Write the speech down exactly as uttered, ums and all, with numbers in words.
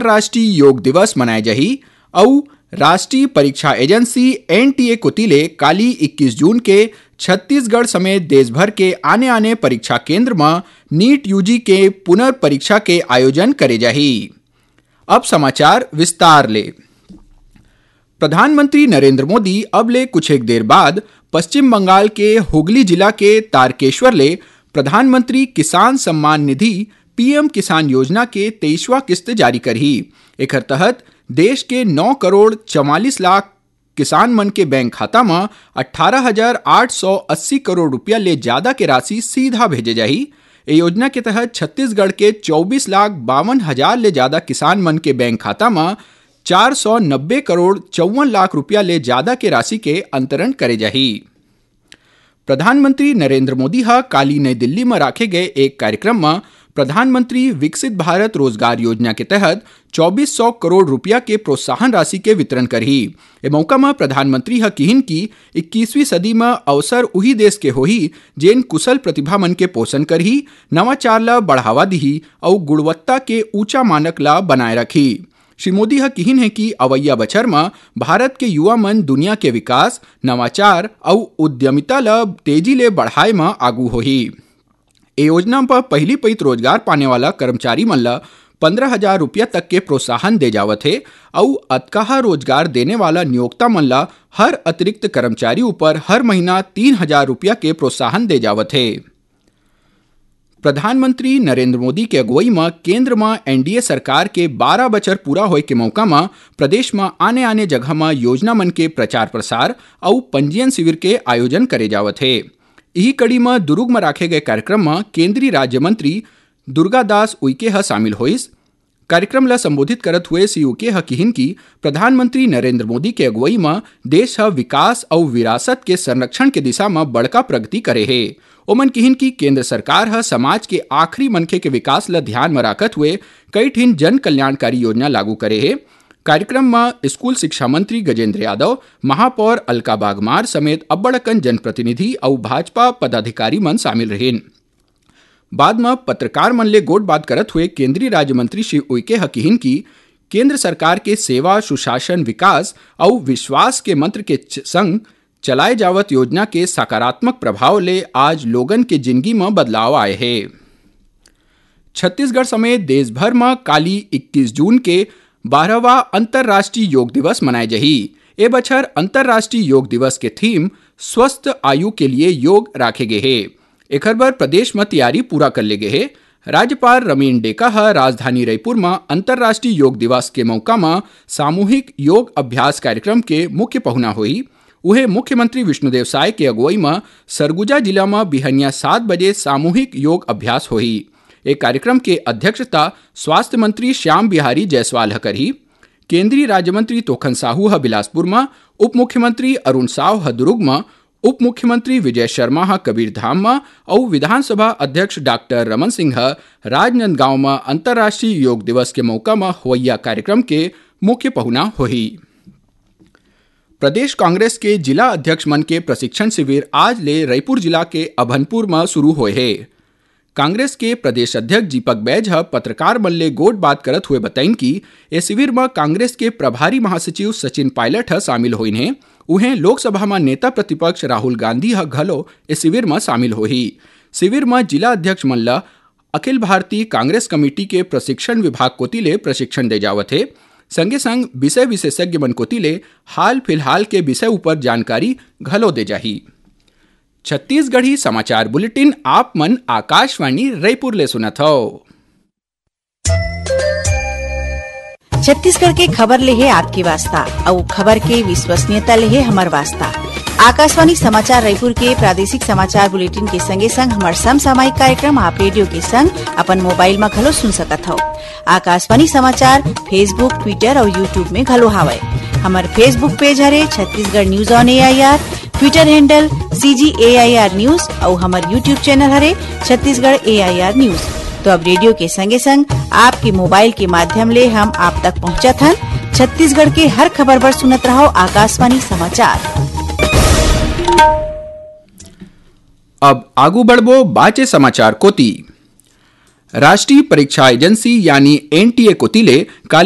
अंतर्राष्ट्रीय योग दिवस मनाए जाही। अउ राष्ट्रीय परीक्षा एजेंसी एनटीए कोति ले काली इक्कीस जून के छत्तीसगढ़ समेत देश भर के आने-आने परीक्षा केंद्र म नीट यूजी के पुनर्परीक्षा के आयोजन करे जाही। अब समाचार विस्तार ले। प्रधानमंत्री नरेंद्र मोदी अब ले कुछ एक देर बाद पश्चिम बंगाल के हुगली जिला के तारकेश्वर ले प्रधानमंत्री किसान सम्मान निधि, पीएम किसान योजना के तेईसवाँ किस्त जारी करही। एखर तहत देश के नौ करोड़ चवालीस लाख किसान मन के बैंक खाता म अट्ठारह हजार आठ सौ अस्सी करोड़ रुपया ले जादा के राशि सीधा भेजे जाही। ए योजना के तहत छत्तीसगढ़ के चौबीस लाख बावन हजार ले जादा किसान मन के बैंक खाता म चार सौ नब्बे करोड़ चौवन लाख रुपया ले जादा के राशि के अंतरण करे जाही। प्रधानमंत्री नरेंद्र मोदी ह काली नई दिल्ली म राखे गए एक कार्यक्रम म प्रधानमंत्री विकसित भारत रोजगार योजना के तहत चौबीस सौ करोड़ रुपया के प्रोत्साहन राशि के वितरण करही। ए मौका म प्रधानमंत्री ह किहिन कि इक्कीसवीं सदी म अवसर उही देश के होही, जेन कुशल प्रतिभा मन के पोषण करही, नवाचार ल बढ़ावा दिही अउ गुणवत्ता के ऊंचा मानक ल बनाए रखही। श्री मोदी ह किहिन हे कि अवइया बछर म भारत के युवा मन दुनिया के विकास, नवाचार अउ उद्यमिता ल तेजी ले बढ़ाए म आगू होही। ए योजना म पहिली पइत रोजगार पाने वाला कर्मचारी मन ल पंद्रह हजार रुपया तक के प्रोत्साहन दे जावत हे अउ अतकाहा रोजगार देने वाला नियोक्ता मन ल हर अतिरिक्त कर्मचारी ऊपर हर महीना तीन हजार रुपया के प्रोत्साहन दे जावत हे। प्रधानमंत्री नरेंद्र मोदी के अगुवई म केंद्र म एनडीए सरकार के बारह बछर पूरा होए के मौका म प्रदेश म आने-आने जगह म योजना मन के प्रचार-प्रसार अउ पंजीयन शिविर के आयोजन करे जावत हे। इही कड़ी म दुरूग म राखे गए कार्यक्रम म केंद्रीय राज्य मंत्री दुर्गादास उइके ह शामिल होइस। कार्यक्रम ल संबोधित करत हुए श्री उइके ह किहिन कि प्रधानमंत्री नरेंद्र मोदी के अगुवई म देश ह विकास अउ विरासत के संरक्षण के दिशा म बड़का प्रगति करे हे। ओमन किहिन कि केंद्र सरकार ह समाज के आखिरी मनखे के विकास ल ध्यान म राखत हुए कई ठिन जन कल्याणकारी योजना लागू करे हे। कार्यक्रम म स्कूल शिक्षा मंत्री गजेंद्र यादव, महापौर अलका बागमार समेत अब्बड़ अकन जनप्रतिनिधि अउ भाजपा पदाधिकारी मन शामिल रहिन। बाद म पत्रकार मन ले गोठबात करत हुए केंद्रीय राज्य मंत्री श्री उइके ह किहिन कि केंद्र सरकार के सेवा, सुशासन, विकास अउ विश्वास के मंत्र के च-, संग चलाए जावत योजना के सकारात्मक प्रभाव ले आज लोगन के जिनगी म बदलाव आए हे। छत्तीसगढ़ समेत देश भर म काली इक्कीस जून के बारहवाँ अंतर्राष्ट्रीय योग दिवस मनाए जाही। ए बछर अंतर्राष्ट्रीय योग दिवस के थीम स्वस्थ आयु के लिए योग राखे गे हे। एखर बर प्रदेश म तैयारी पूरा कर ले गे हे। राज्यपाल रमेन डेका ह राजधानी रईपुर म अंतर्राष्ट्रीय योग दिवस के मौका म सामूहिक योग अभ्यास कार्यक्रम के मुख्य पहुना होही। उहे मुख्यमंत्री विष्णुदेव साय के अगुवई म सरगुजा जिला म बिहनिया सात बजे सामूहिक योग अभ्यास होही। ए कार्यक्रम के अध्यक्षता स्वास्थ्य मंत्री श्याम बिहारी जायसवाल ह करही। केंद्रीय राज्य मंत्री तोखन साहू ह बिलासपुर म, उप मुख्यमंत्री अरुण साव ह दुरूग म, उप मुख्यमंत्री विजय शर्मा ह कबीरधाम म अउ विधानसभा अध्यक्ष डॉक्टर रमन सिंह ह राजनांदगांव म अंतर्राष्ट्रीय योग दिवस के मौका म होवइया कार्यक्रम के मुख्य पहुना होही। प्रदेश कांग्रेस के जिला अध्यक्ष मन के प्रशिक्षण शिविर आज ले रईपुर जिला के अभनपुर म शुरू होए हे। कांग्रेस के प्रदेश अध्यक्ष दीपक बैज ह पत्रकार मन ले गोठबात करत हुए बताइन कि ए शिविर म कांग्रेस के प्रभारी महासचिव सचिन पायलट ह शामिल होइन हे। उहें, लोकसभा म नेता प्रतिपक्ष राहुल गांधी ह घलो ए शिविर म शामिल होही। शिविर म जिला अध्यक्ष मन ल अखिल भारतीय कांग्रेस कमेटी के प्रशिक्षण विभाग कोति ले प्रशिक्षण दे जावत हे। संगे संग विषय विशेषज्ञ मन कोति ले हाल फिलहाल के विषय ऊपर जानकारी घलो दे जाही। छत्तीसगढ़ी समाचार बुलेटिन आप मन आकाशवाणी रईपुर ले सुनत हव। छत्तीसगढ़ के खबर ले हे आपके वास्ता, अउ खबर के विश्वसनीयता ले हे हमर वास्ता। आकाशवाणी समाचार रईपुर के प्रादेशिक समाचार बुलेटिन के संगे संग हमर समसामयिक कार्यक्रम आप रेडियो के संग अपन मोबाइल म घलो सुन सकत हव। आकाशवाणी समाचार Facebook, Twitter अउ YouTube में घलो हावय। हमर Facebook पेज हरे Chhattisgarh news on AIR, Twitter handle CG AIR news अउ हमर YouTube चैनल हरे छत्तीसगढ़ एआईआर न्यूज। तो अब रेडियो के संगे संग आपके मोबाइल के माध्यम ले हम आप तक पहुंचत हन। छत्तीसगढ़ के हर खबर बर सुनत रहव आकाशवाणी समाचार। अब आगू बढ़बो बाचे समाचार कोति। राष्ट्रीय परीक्षा एजेंसी यानी एनटीए कोति ले काली